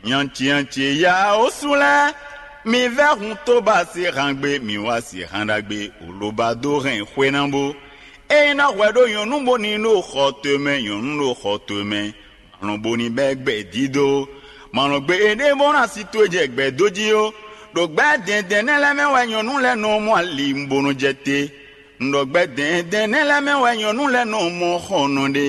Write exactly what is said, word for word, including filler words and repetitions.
Nyanci nyanci ya osu lɛ́ɛ, mi vɛ́ hun tó ba sín han gbe, mi wá sín han ɖagbe wǒ ló ba dó hɛn xwe ná bó. Ényí ná hwɛ ɖó nyɔ̌nu bó ní ɖo xɔ towe mɛ, nyɔ̌nu ɖo xɔ towe mɛ, malɔn bó ní bɛ́ gbɛ dídó. Malɔn gbe éɖée bó ná si towe jɛ gbɛ dó jí ó. Ɖo gbɛ́ dɛ̌ndɛ̌n nɛ́ lɛ́ɛ mɛ wɛ nyɔ̌nu lɛ́ɛ nɔ mɔ ali bó nɔ jɛ te. Un ɖɔ gbɛ́ dɛ̌ndɛ̌n nɛ́ lɛ́ɛ mɛ wɛ nyɔ̌nu lɛ́ɛ nɔ mɔ xɔnɔ ɖe.